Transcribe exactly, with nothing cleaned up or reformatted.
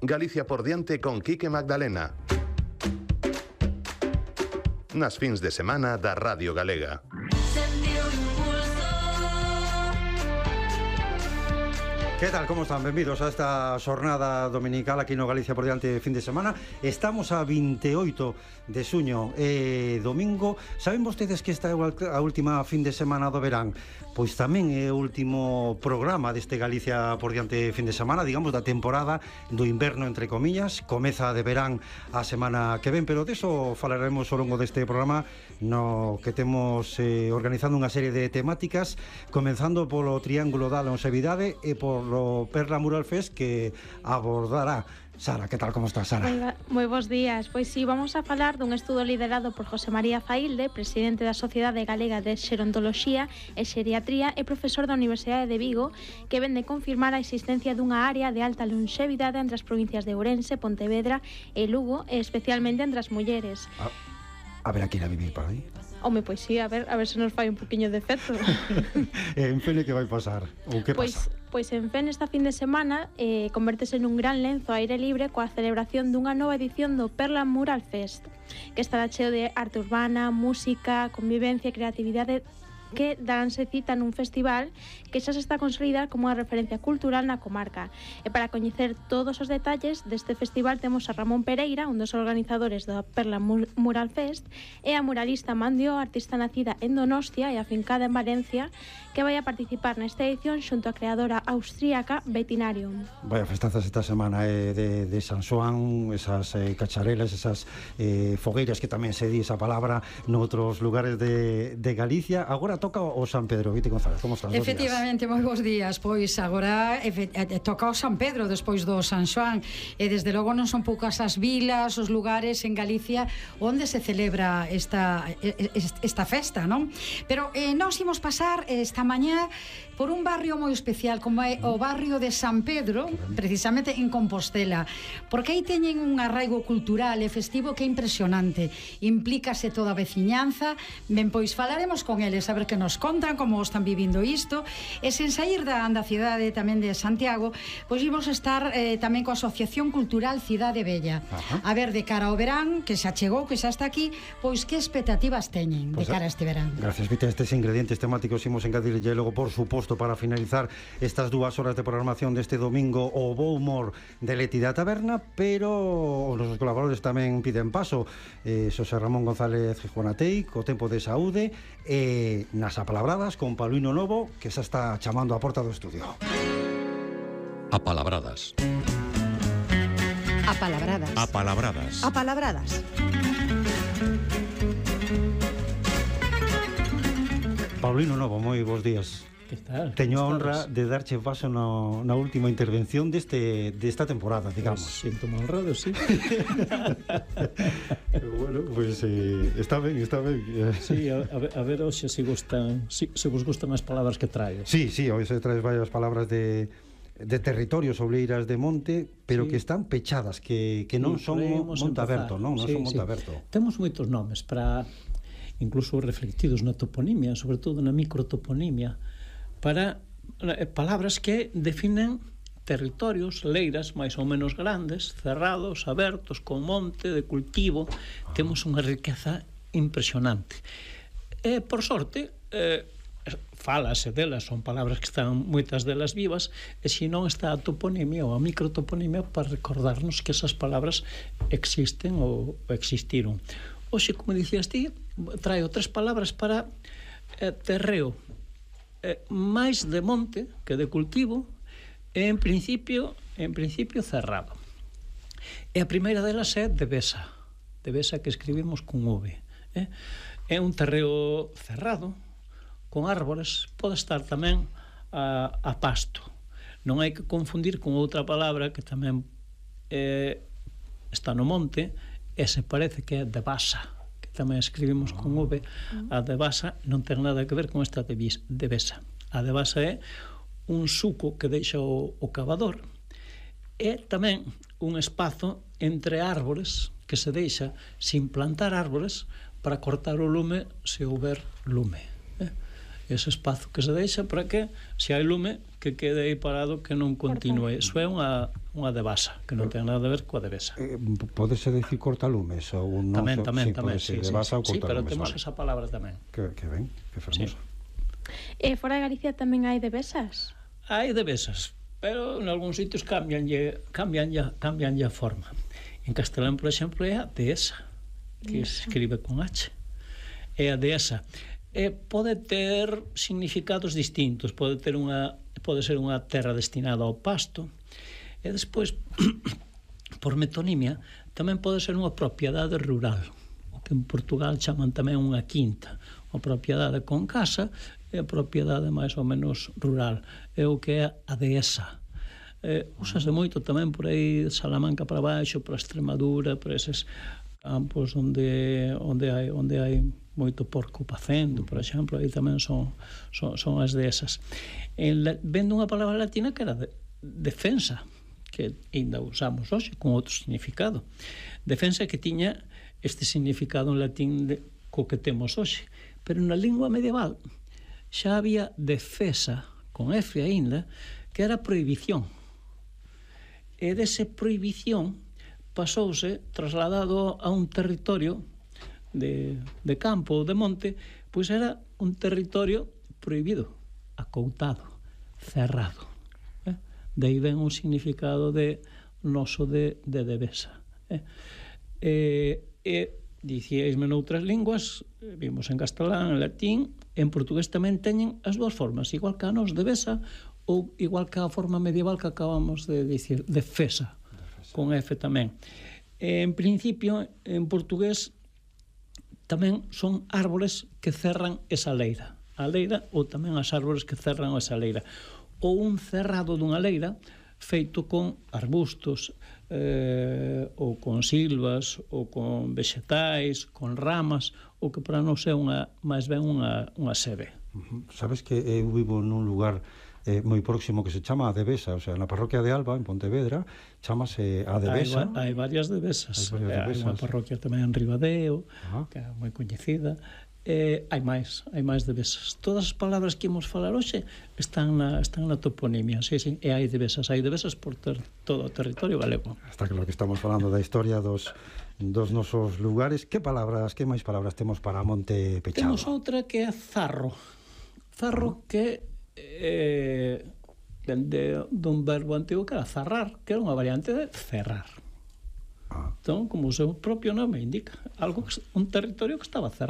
Galicia por diante con Quique Magdalena. Nas fins de semana da Radio Galega. Que tal, como están? Benvidos a esta xornada dominical aquí no Galicia por diante fin de semana. Estamos a veintioito de xuño, eh, domingo. Saben vostedes que esta é a última fin de semana do verán? Pois tamén é o último programa deste Galicia por diante fin de semana, digamos, da temporada do inverno, entre comillas. Comeza de verán a semana que ven, pero deso falaremos ao longo deste programa, no que temos eh, organizando unha serie de temáticas, comenzando polo Triángulo da Longevidade e por o Perla Mural Fest que abordará Sara. Que tal, como estás, Sara? Moi, moi bons días. Pois si, sí, vamos a falar dun estudo liderado por José María Failde, presidente da Sociedade Galega de Xerontoloxía e Xeriatría e profesor da Universidade de Vigo, que ven de confirmar a existencia dunha área de alta longevidade entre as provincias de Ourense, Pontevedra e Lugo, e especialmente entre as mulleres. A, a ver, a quen a vivir por aí? Home, pois sí, a ver, a ver se nos fai un poquinho de efecto. En Fene que vai pasar? Ou que pois, pasa? Pois en Fene esta fin de semana eh, convertese nun gran lenzo ao aire libre coa celebración dunha nova edición do Perla Mural Fest, que estará cheo de arte urbana, música, convivencia e creatividade, que daránse cita nun festival que xa se está a consolidar como unha referencia cultural na comarca. E para coñecer todos os detalles deste festival temos a Ramón Pereira, un dos organizadores da Perla Mural Fest, e a muralista Mandio, artista nacida en Donostia e afincada en Valencia, que vai a participar nesta edición xunto á creadora austríaca Vetinarium. Vaya festazas esta semana eh, de, de San Xoán, esas eh, cacharelas, esas eh, fogueiras que tamén se di esa palabra noutros lugares de, de Galicia. Agora toca o San Pedro. Vite González, como estás? Efectivamente, moi bons días. Pois agora efe, toca o San Pedro despois do San Xoán, e desde logo non son poucas as vilas, os lugares en Galicia onde se celebra esta, esta festa, non? Pero eh, nós imos pasar esta mañá por un barrio moi especial como é o barrio de San Pedro, precisamente en Compostela, porque aí teñen un arraigo cultural e festivo que é impresionante. Implícase toda a veciñanza. Ben, pois falaremos con eles a ver que nos contan como están vivindo isto, e sen sair da, da cidade tamén de Santiago, pois imos estar eh, tamén coa Asociación Cultural Cidade Bella. Ajá. A ver, de cara ao verán que xa chegou, que xa está aquí, pois que expectativas teñen pues de cara a este verán. Gracias, Vite, estes ingredientes temáticos imos engadirlle logo, por suposto, para finalizar estas dúas horas de programación deste domingo, o bo humor de Leti da Taberna, pero os nosos colaboradores tamén piden paso. eh, Xosé Ramón González Juanatei co tempo de saúde, e nas apalabradas con Paulino Novo, que xa está chamando a porta do estudio. Apalabradas. Apalabradas. Apalabradas. Apalabradas. Paulino Novo, moi bons días. Que tal? Teño a honra de darche paso no, na última intervención deste desta temporada, digamos. Pues sinto mal honrado, sí. Bueno, pois pues, eh, está ben, está ben. Sí, a, a ver, a ver hoxe se gustan, si, se vos gustan as palabras que traio. Sí, sí, hoxe traes varias palabras de de territorios, obleiras de monte, pero sí, que están pechadas, que, que non sí, son monte aberto, non? Non sí, son monte sí. aberto. Temos moitos nomes para, incluso reflectidos na toponimia, sobre todo na microtoponimia, para eh, palabras que definen territorios, leiras máis ou menos grandes, cerrados, abertos, con monte, de cultivo. Temos unha riqueza impresionante. E, por sorte, eh, falase delas, son palabras que están moitas delas vivas, e se non está a toponimia ou a microtoponimia para recordarnos que esas palabras existen ou existiron. Hoxe, como dicías ti, traio tres palabras para eh, terreo, eh, máis de monte que de cultivo, e en principio en principio cerrado. E a primeira delas é Devesa, Devesa que escribimos con V, eh? É un terreo cerrado con árbores, pode estar tamén a, a pasto. Non hai que confundir con outra palabra que tamén eh, está no monte e se parece que é Devasa, que tamén escribimos con V. A Devasa non ten nada que ver con esta Devesa. A Devasa é un suco que deixa o, o cavador, e tamén un espazo entre árbores que se deixa sin plantar árbores para cortar o lume se houber lume. Eh? ese espazo que se deixa para que, se hai lume, que quede aí parado, que non continue. Iso é unha, unha devasa, que non ten nada a ver coa devesa. Eh, Pódese decir cortalumes ou non? Tamén, tamén, sí, tamén, sí, sí, devasa sí, ou sí, pero cortalumes, temos vale. esa palabra tamén. Que, que ben, que fermoso. Sí. E fora de Galicia tamén hai devesas? Hai devesas, pero en algúns sitios cambianlle, cambianlle, cambianlle a forma. En castelán, por exemplo, é a dehesa, que se escribe con H. É a dehesa. E pode ter significados distintos, pode ter unha pode ser unha terra destinada ao pasto, e despois por metonimia tamén pode ser unha propiedade rural, o que en Portugal chaman tamén unha quinta, unha propiedade con casa e a propiedade máis ou menos rural, é o que é a dehesa. Eh, usase moito tamén por aí de Salamanca para baixo, para Extremadura, para eses campos onde onde hai onde hai moito porco pacendo, por exemplo, aí tamén son son, son as desas. En la, vendo unha palabra latina que era de, defensa, que ainda usamos hoxe con outro significado. Defensa que tiña este significado en latín de, co que temos hoxe, pero na lingua medieval xa había defesa con F aínda, que era prohibición. E dese prohibición pasouse trasladado a un territorio de, de campo ou de monte, pois era un territorio prohibido, acoutado, cerrado. Eh? De aí ven un significado de noso de, de devesa. Eh? E, e dicíaisme noutras linguas, vimos en castelán, en latín, en portugués tamén teñen as dúas formas, igual que a nos devesa ou igual que a forma medieval que acabamos de dicir, defesa, con F tamén. En principio, en portugués tamén son árbores que cerran esa leira. A leira ou tamén as árbores que cerran esa leira. Ou un cerrado dunha leira feito con arbustos, eh, ou con silvas, ou con vexetais, con ramas, ou que para nós é unha, máis ben unha, unha sebe. Uh-huh. Sabes que eu vivo nun lugar eh, moi próximo que se chama a Devesa, o sea, na parroquia de Alba, en Pontevedra, chamase a Devesa. Hai, hai varias devesas. Hai varias devesas. Hai unha parroquia tamén en Ribadeo, Ah. que é moi coñecida. Eh, hai máis, hai máis devesas. Todas as palabras que imos falar hoxe están na, están na toponimia, sí, sí, e hai devesas, hai devesas por ter todo o territorio galego. Está claro que estamos falando da historia dos dos nosos lugares. Que palabras, que máis palabras temos para Monte Pechado? Temos outra que é zarro. Zarro que eh, de, dun verbo antigo que era zarrar, que era unha variante de cerrar. Ah. Entón, como o seu propio nome indica, algo que, un territorio que estaba cerrado.